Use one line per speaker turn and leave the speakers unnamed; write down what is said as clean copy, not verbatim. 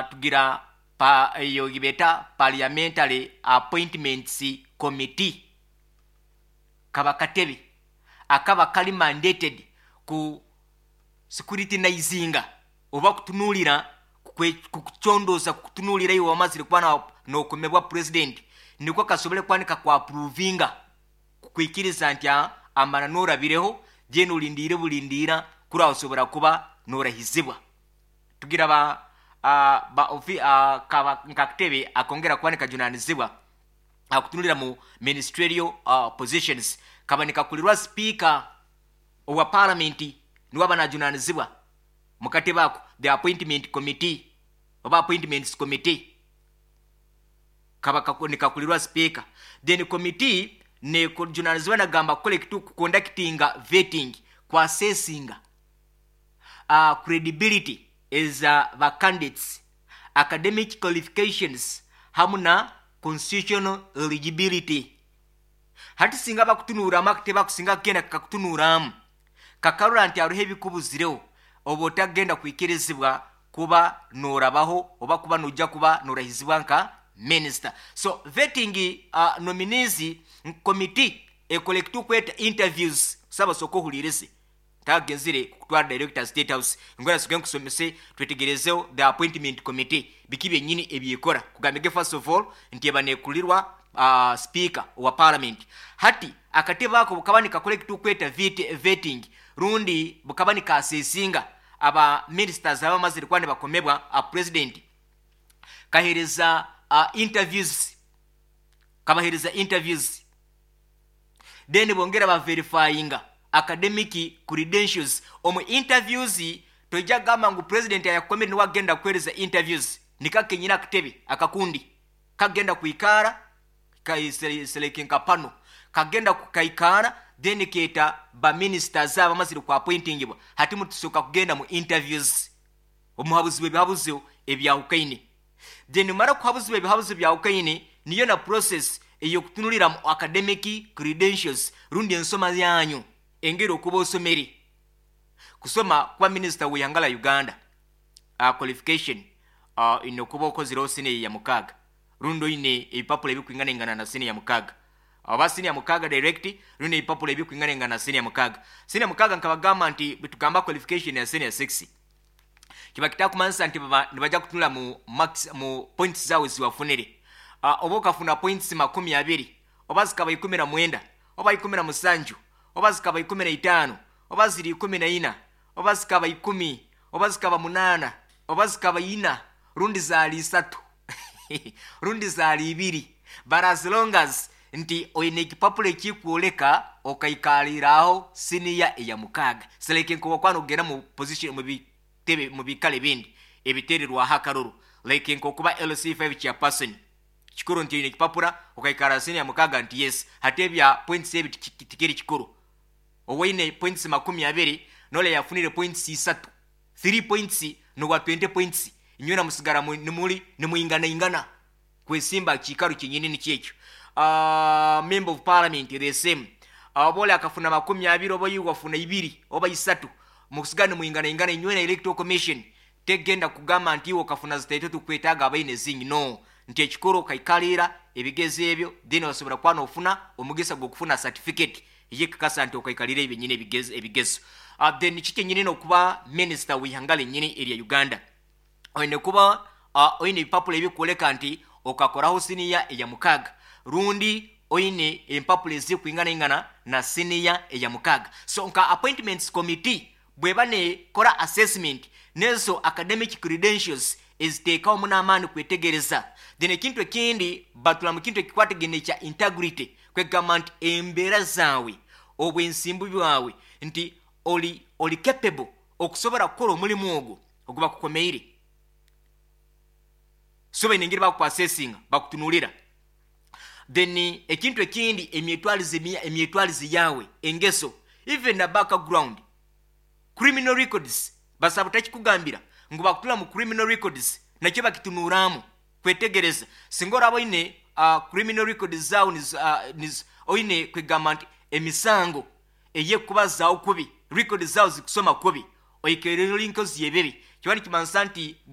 Tugira pa eyo gibeta Parliamentary Appointments Committee, kaba katebe akaba kali mandated ku scrutinizinga oba kutunuulira, kukucondoza, kukutunuulira iwe wamazire kuba nokomebwa president, niko kasobole kuba nikakwaprovinga, kukwikiriza nti amara norabireho then olindiire bulindira kuri osobora kuba norahizibwa. Tugira ba ba kaba nkakatebe akongera kuba nikajunanizibwa akutunulira mu ministerial positions. Kaba nikakulirwa speaker owa parliament, niwe aba najunanizibwa mukatebe ako, the appointment committee oba appointments committee. Kaba nikakulirwa speaker. Then committee nekujunanizibwa nagamba kukola ekitu conductinga vetting, kwassessinga credibility as ba candidates, academic qualifications hamu na constitutional eligibility. Hati singa bakutunuuramu, akatebe akusinga kugenda kakakutunuuramu, kakarora nti hariho ebikubuzireho, oba otagenda kwikirizibwa kuba norabaho oba kuba nojja kuba norahizibwa nka minister. So vetting nominees committee ekola ekitukweta interviews. Saba soka ohulirize, tagenzire kutwara director State House, ngwera sige nkusomese twetegerezeho the appointment committee biki byenyini ebyekora. Kugambige first of all nti eba nekulirwa speaker wa parliament. Hati akatebe ako bukaba nikakola ekitukweta vetting rundi bukaba nikasesinga aba ministers abamazire kuba nibakomebwa a president, kahereza interviews, kabahereza interviews, then bongera baverifyinga academic credentials. Omu interviews tojja kugamba ngu president ayakukomere niwe agenda kuhereza interviews, nikakenyina akatebe akakundi kagenda kwikara seleke nka pano kagenda kukaikara, then keta ba ministers abamazire ku appointingibwa, hati mutusoka kugenda mu interviews, omuhabuzi bw'ebihabuzo ebyahukaine. Then mara kuhabuzibwa ebihabuzo byahukaine, niyo na process eyokutunulira mu academic credentials rundi ensoma yanyu, engeri okuba osomere kusoma kuba minisita w'ihanga la Uganda. Qualification ine okuba okozireho senior ya 6 rundi oine ebipapula ebikwinganaingana na senior ya 6, oba senior ya 6 direct rundi ebipapula ebikwinganaingana na senior ya 6. Senior ya 6, nkabagamba nti bwetugamba qualification ya senior 6, kiba kitakumanisa nti baba nibajja kutunula mu max, mu points zawe ziwafunire. Oba okafuna points 20, oba zikaba 19, oba 17, oba zikaba 15, oba ziri 14, oba zikaba 10, oba zikaba 8, oba zikaba 4, rundi zaali 3, rundi zaali 2, but as long as nti oine ekipapula ekikwoleka okaikaliraho siniya eya 6, seleke nkoba ogenda mu position mu bitebe mu bikale bindi ebitererwaho akaruru, like nkokuba LC5 chairperson, kikuru nti oine ekipapula okaikara siniya ya 6, nti yes. Hati ebya points ebi tikiri kikuru. Owaine points 20 nole yafunire points 3, 3 points nowa 20 points, inywena musigara nimuli nimwingana ingana kwesimba kikaro kyenyini nikyekyo. Member of parliament the same, oba oli akafuna 20, oba iwe wafuna 2 oba 3, musigara nimwingana ingana inywena. Electoral Commission tegenda kugamba nti iwe okafuna zitaito, tukwetaaga abaine zingi. No, nti ekikuru okaikalira ebigezo ebyo, then wasobora kuba nofuna omugisa gw'okufuna certificate eyekakasa nti okaikalira ebyenyini ebigezo. Then kikyenyini nokuba minister w'ihanga lenyini erya Uganda, oine kuba oine ebipapula ebikwoleka nti okakoraho siniya eya 6 rundi oine empapula ezikwinganaingana na siniya eya 6. So nka appointments committee bweba nekora assessment nezo academic credentials, eziteekawo n'amaani kwetegereza. Then ekintu ekindi batula mu kintu ekikwatagene kya integrity, kwegamba nti embeera zaawe, obwensimbu bwawe, nti oli capable okusobola kukola omulimu ogwo oguba kukomeire. So baine engeri bakuassessinga, bakutunulira. Then ekintu ekindi, emyetwalize yawe, engeso, even na background, criminal records. Basaba takikugambira ngu bakutula mu criminal records, nakyo bakitunuramu kwetegereza singa oraba oine criminal records zawe oine kwegamba nti emisango eyekubazaawo kubi, records zawe zikusoma kubi, oikerero linkozi yebibi, kiba nikimanisa nti the